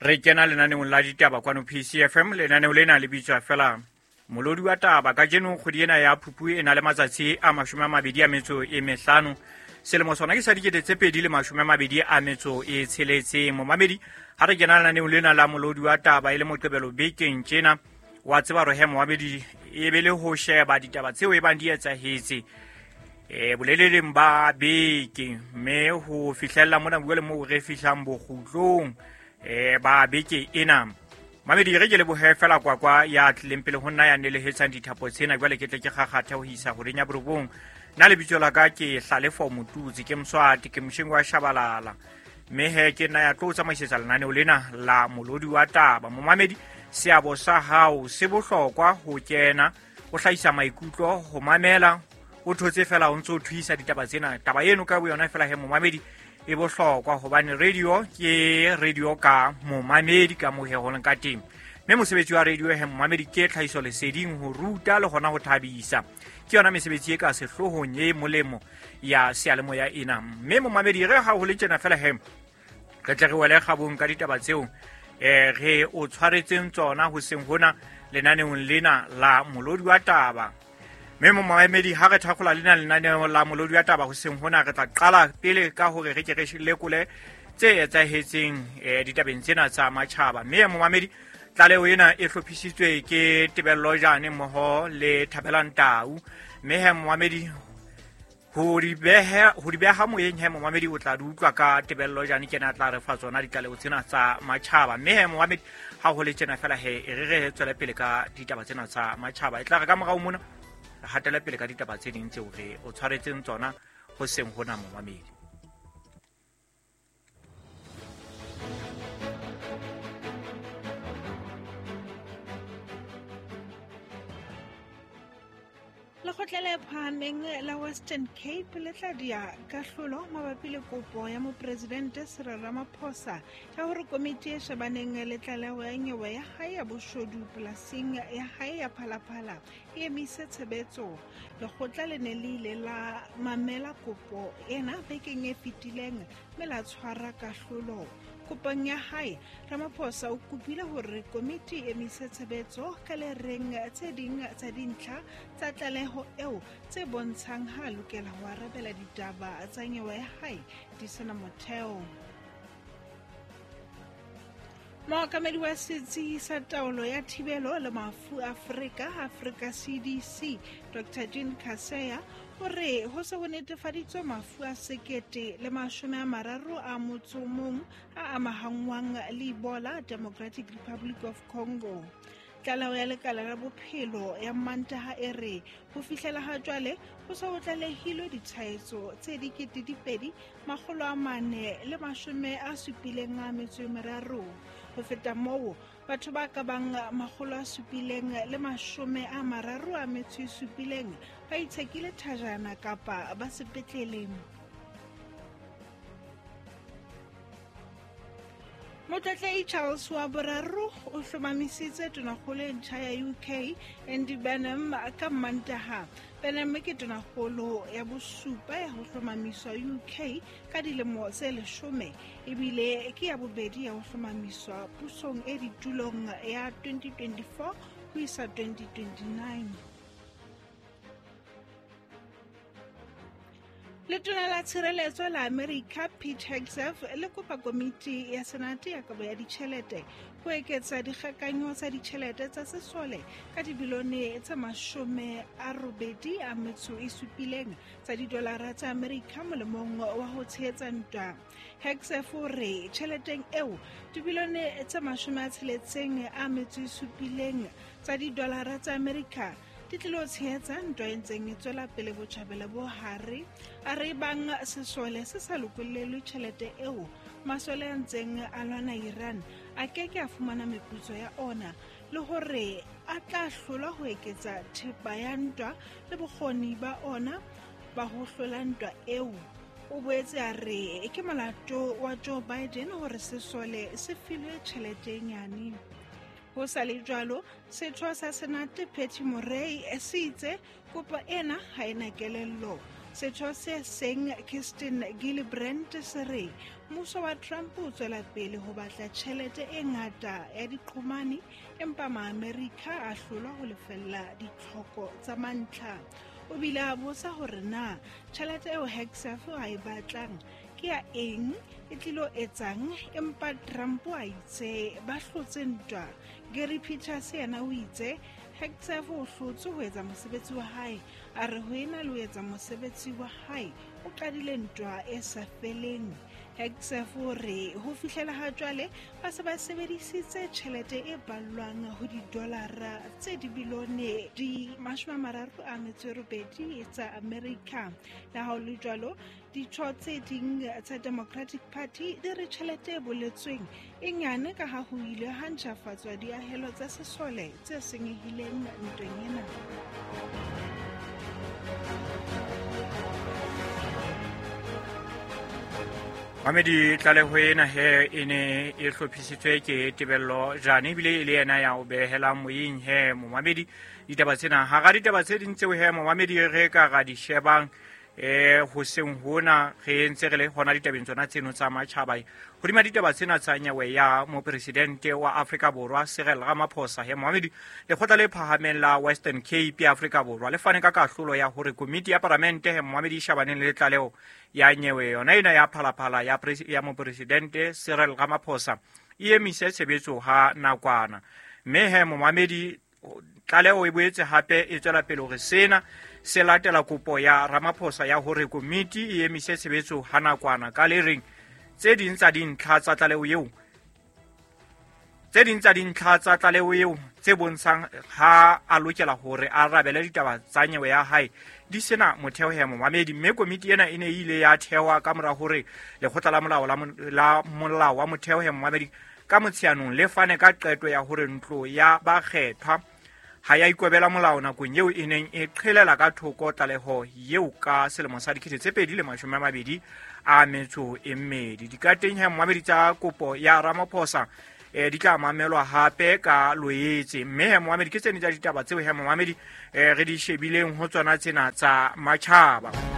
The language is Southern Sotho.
Re kena lenaneong la ditaba kwano PCFM. Lenaneo lena le bitswa fela Molodi wa Taba. Kajeno kgwedi ena ya Phupu e na le matsatsi a 25, selemo sona ke sa 2026. Momamedi, ha re kena lenaneong lena la Molodi wa Taba e le Moqebelo bekeng tjena, wa tseba hore he momamedi e be le ho sheba ditaba tseo e bang di etsahetse boleleleng ba beke, mme ho fihlella mona bua le moo re fihlang bokgutlong ba beke ena. Mamedi, re ke lebohe fela kwakwa ya tlileng pele ho nna ya nelehetsang dithapo tsena. Jwale ke tle ke kgakgathe ho isa horeng ya 9. Nna lebitso la ka ke Hlalefo Motutsi, ke Mswati, ke mosheng wa Shabalala, mme he ke nna ya tlo tsamaisetsa lenaneo lena la Molodi wa Taba. Momamedi, seabo sa hao se bohlokwa ho kena o hlahisa maikutlo, ho mamela o thotse fela o ntse o thuisa ditaba tsena. Taba eno ka boyona fela he momamedi e bohlokwa, hobane radio ke radio ka momamedi ka moo he ho leng ka teng. Mme mosebetsi wa radio he momamedi ke tlhahiso leseding, ho ruta le hona ho thabisa. Ke yona mesebetsi e ka sehloohong e molemo ya seyalemoya ena. Mme momamedi, re ha ho le tjena fela he re tle re wele kgabong ka ditaba tseo re o tshwaretseng tsona hoseng hona lenaneong lena la Molodi wa Taba. Mme momamedi, ha re thakgola lena lenaneo la Molodi wa Taba hoseng hona, re tla qala pele ka hore re ke re lekole tse etsahetseng ditabeng tsena tsa matjhaba. Mme momamedi, tlaleho ena e hlophisitswe ke Tebello Jane mmoho le Thabelang Tau. Mme he momamedi, ho di beha moyeng he momamedi o tla di utlwa ka Tebello Jane, ke ena a tla re fa tsona ditlaleho tsena tsa matjhaba. Mme he momamedi, ha ho le tjena fela he e re re tswele pele ka ditaba tsena tsa matjhaba. E tla re ka morao mona re hatele pele ka ditaba tse ding tseo re o tshwaretseng tsona hoseng hona momamedi. Lekgotla le phahameng la Western Cape le tla dia kahlolo mabapi le kopo ya mopresidente Cyril Ramaphosa ya hore komiti e shebaneng le tlaleho ya nyewe ya hae ya boshodu polasing ya hae ya Phalaphala e emise tshebetso. Lekgotla le ne le ile la mamela kopo ena bekeng e fetileng mme la tshwara kahlolo. Kopong ya hae, Ramaphosa o kopile hore komiti e emise tshebetso ka le reng tse ding tsa dintlha tsa tlaleho eo tse bontshang ha a lokela ho arabela ditaba tsa nyewe ya hae di sena motheo. Mookamedi wa setsi sa taolo ya thibelo le mafu Afrika, Africa CDC, Dr. Jean Kaseya, o re ho se ho netefaditswe mafu a 1031 a amahangwang le Ebola Democratic Republic of Congo. Tlaleho ya lekala la bophelo ya Mantaha e re ho fihlela ha jwale ho se ho tlalehilwe ditshwaetso tse 2473. Ho feta moo, batho ba ka bang 737 ba itshekile thajana kapa ba sepetlele. Motlatlehi Charles wa boraro o hlomamisitse tonakgolo e ntjha ya UK Andy Burnham ka Mantaha. Burnham ke tonakgolo ya bosupa ya ho hlomamiswa UK ka dilemo tse 10, ebile ke ya bobedi ya ho hlomamiswa pusong e ditulong ya 2024 ho isa 2029. Letona la Tshireletso la Amerika Pete Hegseth le kopa komiti ya Senate ya kabo ya ditjhelete ho eketsa dikgakanyo tsa ditjhelete tsa sesole ka dibilione tse 87 tsa didolara tsa Amerika molemong wa ho tshehetsa ntwa. Hegseth o re tjheleteng eo dibilione tse 67 tsa didolara tsa Amerika di tlilo tshehetsa ntwa e ntseng e tswela pele botjhabela bo hare. A re bang sesole se sa lokollelwe tjhelete eo, masole a ntseng a lwana Iran a ke ke a fumana meputso ya ona, le hore a tla hlolwa ho eketsa thepa ya ntwa le bokgoni ba ona ba ho hlola ntwa eo. O boetse a re ke molato wa Joe Biden hore sesole se filwe tjhelete e nyane. Ho sa le jwalo, setho sa Senate Patty Murray se itse kopo ena ha ena kelello. Setho se seng Kirsten Gillibrand se re Mmuso wa Trump o tswela pele ho batla tjhelete e ngata ya diqhomane, empa Maamerika a hlolwa ho lefella ditlhoko tsa mantlha. O bile a botsa hore na tjhelete eo Hegseth a e batlang ke ya eng, e tlilo etsang, empa Trump a itse ba hlotse ntwa. Gary Peters yena o itse Hegseth o hlotse ho etsa mosebetsi wa hae, a re ho ena le ho etsa mosebetsi wa hae o qadile ntwa e sa feleng. Hegseth o re ho fihlela ha jwale ba se ba sebedisitse tjhelete e ballwang ho didolara tse dibilione di 38 tsa Amerika. Le ha ho le jwalo, ditho tse ding tsa Democratic Party di re tjhelete e boletsweng e nyane ka ha ho ile ha ntjhafatswa diahelo tsa sesole tse senyehileng ntweng ena. Mamedi, tlaleho ena he e ne e hlophisitswe ke Tebello Jane, ebile e le yena ya o behelang moyeng he momamedi ditaba tsena. Hara ditaba tse ding tseo he momamedi re ka ra di shebang hoseng hona re ntse re le hona ditabeng tsona tseno tsa matjhaba, hodima ditaba tsena tsa nyewe ya mopresidente wa Afrika Borwa Cyril Ramaphosa he momamedi, lekgotla le phahameng la Western Cape ya Afrika Borwa le fane ka kahlolo ya hore komiti ya palamente he momamedi e shebaneng le tlaleho ya nyewe yona ena ya phalaphala ya mopresidente Cyril Ramaphosa e emise tshebetso ha nakwana. Mme he momamedi, tlaleho e boetse hape e tswela pele hore sena se latela kopo ya Ramaphosa ya hore komiti e emise tshebetso ha nakwana ka le reng tse ding tsa dintlha tsa tlaleho eo tse ding tsa dintlha tsa tlaleho eo tse bontshang ha a lokela hore a arabele ditaba tsa nyewe ya hae di sena motheo he momamedi. Mme komiti ena e ne e ile ya thehwa ka mora hore lekgotla la molao la molao wa motheo he momamedi ka Motsheanong le fane ka qeto ya hore ntlo ya bakgethwa ha ya ikobela molao nakong eo e neng e qhelela ka thoko tlaleho eo ka selemo sa 2022. Dikateng he momamedi tsa kopo ya Ramaphosa di tla mamelwa hape ka Loetse. Mme he momamedi, ke tsene tsa ditaba tseo he momamedi re di shebileng ho tsona tsena tsa matjhaba.